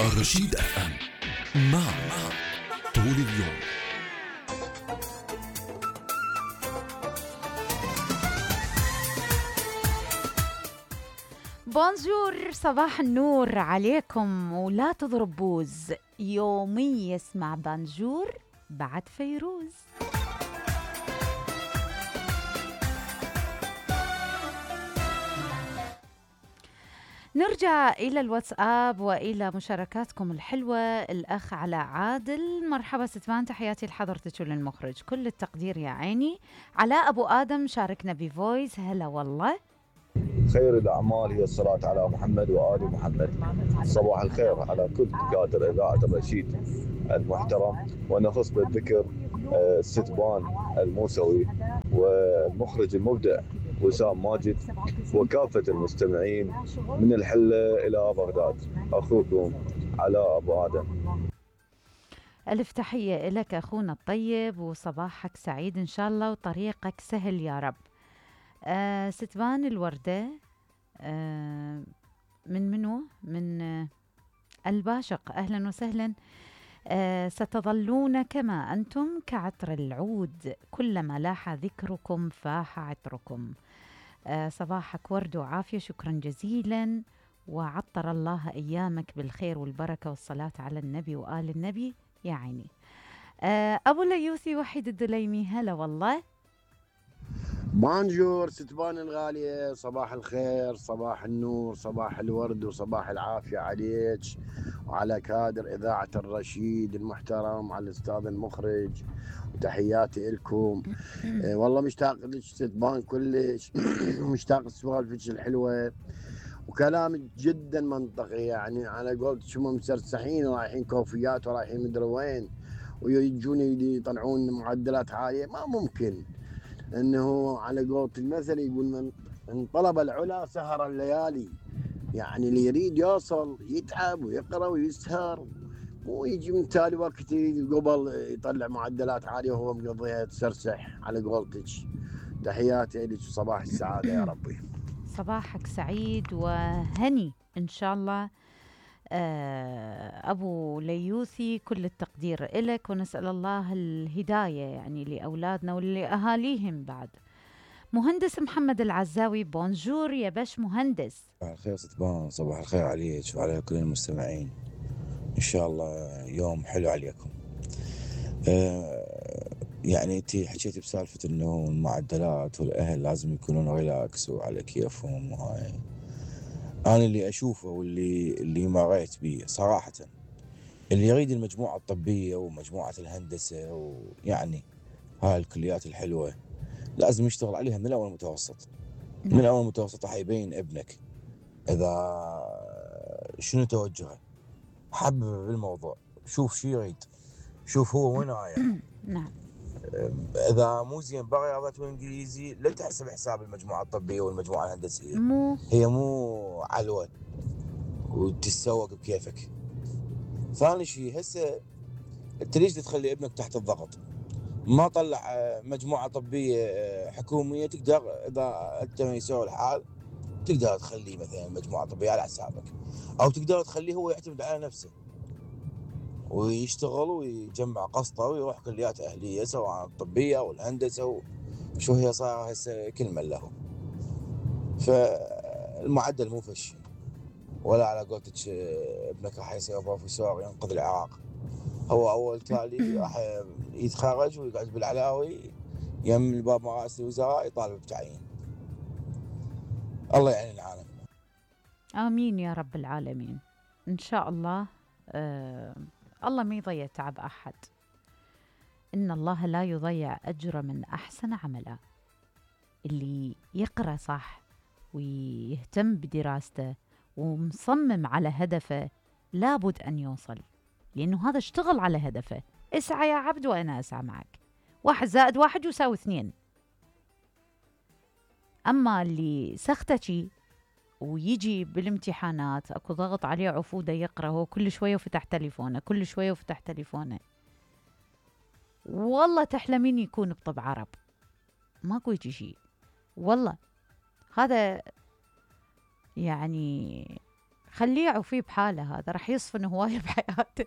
الرشيد اف ام، معك طول اليوم. بونجور، صباح النور عليكم، ولا تضرب بوز. يومي يسمع بونجور بعد فيروز. نرجع إلى الواتساب وإلى مشاركاتكم الحلوة. الأخ علاء عادل، مرحبا ستمان، تحياتي لحضرتك وللمخرج، كل التقدير يا عيني. علاء أبو آدم شاركنا بفويس، هلا والله. خير الأعمال هي الصلاة على محمد وآل محمد. صباح الخير على كل دكاترة إذاعة الرشيد المحترم، ونخص بالذكر ستبان الموسوي والمخرج المبدع وسام ماجد وكافة المستمعين من الحلة إلى بغداد. أخوكم علاء أبو آدم. ألف تحية لك أخونا الطيب، وصباحك سعيد إن شاء الله وطريقك سهل يا رب. ستبان الوردة من منو؟ من الباشق، أهلا وسهلا. ستظلون كما أنتم كعطر العود، كلما لاح ذكركم فاح عطركم. صباحك ورد وعافية، شكرا جزيلا، وعطر الله أيامك بالخير والبركة والصلاة على النبي وآل النبي يا عيني. أبو ليوثي وحيد الدليمي، هلا والله. بونجور ستبان الغالية، صباح الخير، صباح النور، صباح الورد، وصباح العافية عليك وعلى كادر إذاعة الرشيد المحترم، على الأستاذ المخرج، وتحياتي لكم. والله مشتاق لك ستبان كلش. مشتاق لسوالفك الحلوة وكلامك جدا منطقي، يعني على قولتك شو مسرسحين ورايحين كوفيات ورايحين مدري وين ويجون يطلعون معدلات عالية. ما ممكن، انه على قولة المثل يقول من طلب العلا سهر الليالي. يعني اللي يريد يوصل يتعب ويقرا ويسهر، مو يجي من تالي وقت قبل يطلع معدلات عاليه وهو مقضيها يتسرسح على قولتك. تحياتي لك وصباح السعاده يا ربي. صباحك سعيد وهني ان شاء الله. أبو ليوثي، كل التقدير إلك، ونسأل الله الهداية يعني لأولادنا ولأهاليهم بعد. مهندس محمد العزاوي، بونجور يا باش مهندس. صباح الخير ستبان، صباح الخير عليك وعلى كل المستمعين، إن شاء الله يوم حلو عليكم. يعني أنتي حكيتي بسالفة إنه المعدلات والأهل لازم يكونون ريلاكس وعلى كيفهم، وهاي أنا اللي أشوفه واللي مريت بيه صراحة. اللي يريد المجموعة الطبية ومجموعة الهندسة ويعني هاي الكليات الحلوة لازم يشتغل عليها من أول متوسط. من أول متوسط راح يبين ابنك إذا شنو توجهه، حبب بالموضوع، شوف شو يريد، شوف هو وين رايح. نعم. إذا مو زين برياضة وإنجليزي لا تحسب حساب المجموعة الطبية والمجموعة الهندسية. هي مو علوة وتتسوق بكيفك. ثاني شيء، هسه انت ليش تخلي ابنك تحت الضغط؟ ما طلع مجموعة طبية حكومية، تقدر إذا أنت ميسور الحال تقدر تخليه مثلا مجموعة طبية على حسابك، أو تقدر تخليه هو يعتمد على نفسه ويشتغل ويجمع قسطه ويروح كليات أهلية سواء الطبية أو الهندسة وشو هي صار هسه كل من له. فالمعدل مو فشي، ولا على قولتك ابنك راح يصير بروفيسور ينقذ العراق. هو أول تالي راح يتخرج ويقعد بالعلاوي يم الباب مراسل الوزراء يطالب بتعيين. الله يعين العالم. آمين يا رب العالمين إن شاء الله. الله ما يضيع تعب أحد، إن الله لا يضيع أجر من أحسن عملا. اللي يقرأ صح ويهتم بدراسته ومصمم على هدفه لابد أن يوصل، لأنه هذا اشتغل على هدفه. اسعى يا عبد وأنا أسعى معك، 1 زائد 1 يساوي 2. أما اللي سختشي ويجي بالامتحانات اكو ضغط عليه عفوده يقرأ، هو كل شوية وفتح تليفونه، كل شوية وفتح تليفونه، والله تحلمين يكون بطب عرب، ماكو يجي شيء والله. هذا يعني خليه يعوفيه بحاله، هذا راح يصفن هواية بحياته.